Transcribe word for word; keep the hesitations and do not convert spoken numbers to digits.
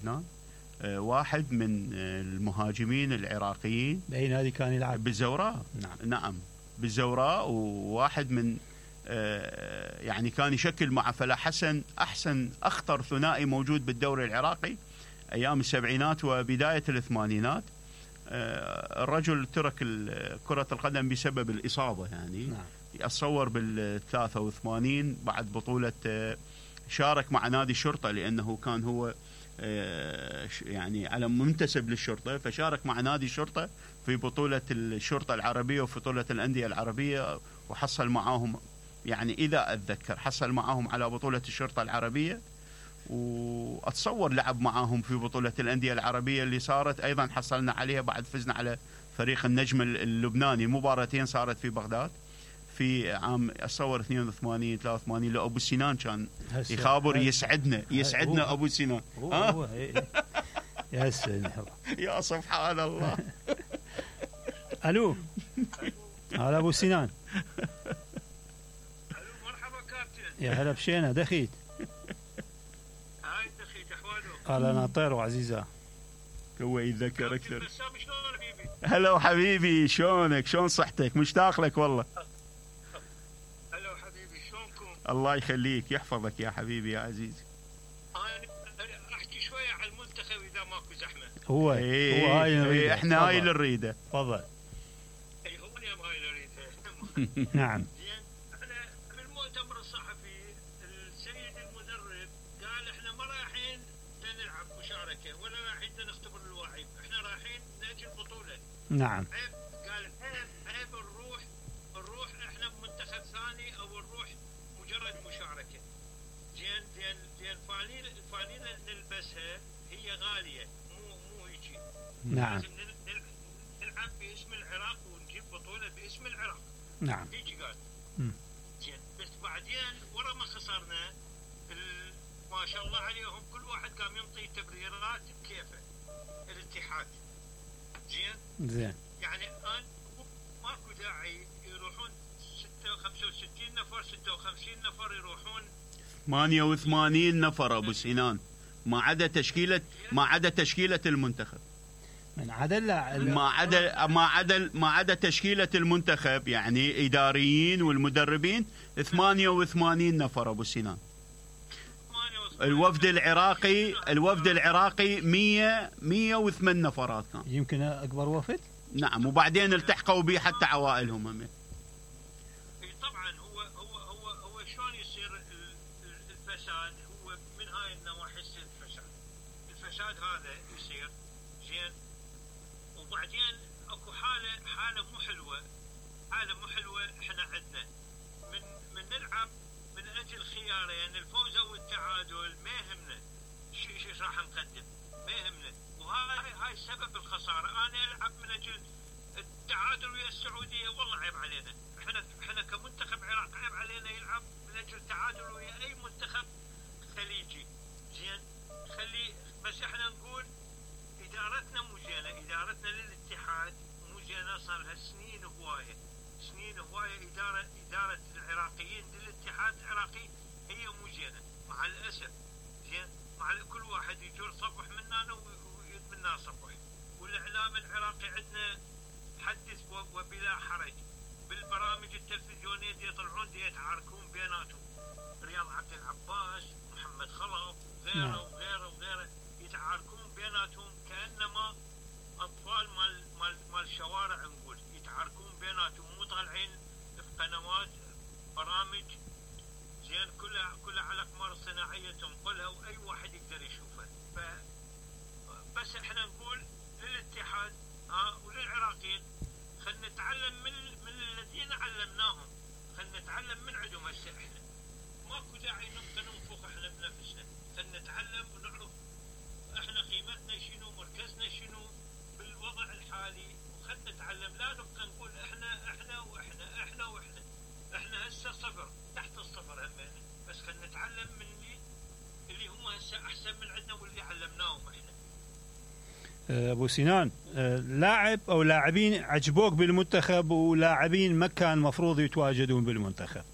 عدنان، واحد من المهاجمين العراقيين. باي نادي كان يلعب؟ بالزوراء. نعم نعم بالزوراء، وواحد من يعني كان يشكل مع فلاح حسن احسن اخطر ثنائي موجود بالدوري العراقي ايام السبعينات وبدايه الثمانينات. الرجل ترك كرة القدم بسبب الإصابة يعني. نعم. أتصور بالثلاثة وثمانين بعد بطولة شارك مع نادي الشرطة، لأنه كان هو يعني علم منتسب للشرطة، فشارك مع نادي الشرطة في بطولة الشرطة العربية وفي بطولة الأندية العربية، وحصل معاهم يعني إذا أتذكر حصل معاهم على بطولة الشرطة العربية، وأتصور لعب معاهم في بطولة الأندية العربية اللي صارت أيضا حصلنا عليها بعد فزنا على فريق النجم اللبناني. المباراتين صارت في بغداد في عام أتصور اثنين وثمانين ثلاثة وثمانين. لأبو سنان كان يخابر. يسعدنا يسعدنا أبو سنان. هو هو يا سلام يا سبحان الله. ألو هلا أبو سنان. ألو مرحبا كابتن. يا هلا بشينا دخيت. هاي دخيت أحواله. أهلا ناطير وعزيزة. هو يتذكر أكثر. هلا حبيبي، شلونك؟ شلون صحتك؟ مشتاق لك والله. هلا حبيبي، شلونكم؟ الله يخليك يحفظك يا حبيبي يا عزيزي. أنا أحكي شوية على المنتخب إذا ماكو زحمة. هو إيه هو هاي إيه إحنا هاي اللي نريده. تفضل. أي هو اليوم هاي اللي نريده. نعم. زين إحنا بالمؤتمر الصحفي السيد المدرب قال إحنا ما رايحين نلعب مشاركة ولا رايحين نختبر اللاعب، إحنا رايحين نأجل بطولة. نعم. قال عيب عيب نروح نروح إحنا بمنتخب ثاني أو نروح مجرد مشاركة. زين زين زين فانيلة الفانيلة نلبسها هي غالية، مو مو هيجي. نعم. لازم نلعب باسم العراق ونجيب بطولة باسم العراق. نعم. هيجي قال. مم. زين بس بعدين ورا ما خسرنا ما شاء الله عليهم كل واحد قام ينطي تبريرات بكيفه. الاتحاد. زين. زين. يعني الان ماكو داعي يروحون خمسة وستين نفر ستة وخمسين نفر يروحون ثمانية وثمانين نفر ابو سنان، ما عدا تشكيله ما عدا تشكيله المنتخب. من عدا ما عدا ما عدا ما عدا تشكيله المنتخب يعني اداريين والمدربين ثمانية وثمانين نفر ابو سنان. الوفد العراقي الوفد العراقي مية مية وثمانية نفرات كان. يمكن اكبر وفد. نعم، وبعدين التحقوا به حتى عوائلهم هم. طبعا هو هو هو هو شلون يصير الفساد؟ هو من هاي النواحي يصير الفساد. الفساد هذا يصير زين، وبعدين اكو حاله حاله مو حلوه، حاله مو حلوه احنا عندنا من من نلعب من اجل خيارين الفوز او التعادل، ما يهمنا شو شو راح نقدم، ما يهمنا. وهاي هاي سبب الخساره. انا العب من اجل التعادل ويا السعوديه، والله عيب علينا. احنا احنا كمنتخب عراق عيب علينا يلعب من اجل تعادل ويا اي منتخب خليجي. زين خلي بس احنا نقول ادارتنا مو زينه، ادارتنا للاتحاد مو زينه، صار لها سنين هوايه سنين هوايه اداره اداره العراقيين للاتحاد العراقي هي مو زينه مع الاسف. زين مع كل واحد يجور صفح مننا ومنا صفح. والاعلام العراقي عندنا حدث وبلا حرج، بالبرامج التلفزيونيه يطلعون يتعاركون بيناتهم، رياض عبد العباس محمد خلف وغيره وغيره وغيره يتعاركون بيناتهم كانما اطفال مال مال مال الشوارع، نقول يتعاركون بيناتهم، مو طالعين في قنوات برامج. زين كلها كلها على اقمار صناعيه تنقلها واي واحد يقدر يشوفها. ف بس احنا نقول للاتحاد ها وللعراقيين خلينا نتعلم من من الذين علمناهم، خلينا نتعلم من عندهم. هسه احنا ماكو داعي نبقى ننفخ احنا بنفسنا، خلينا نتعلم ونعرف احنا قيمتنا شنو، مركزنا شنو بالوضع الحالي، وخلينا نتعلم. لا نبقى نقول احنا احنا واحنا احنا واحنا احنا هسه صفر تحت الصفر همنا، بس خلينا نتعلم من اللي اللي هم هسه احسن من عندنا واللي علمناهم احنا. ابو سنان، لاعب او لاعبين عجبوك بالمنتخب ولاعبين ما كان مفروض يتواجدون بالمنتخب؟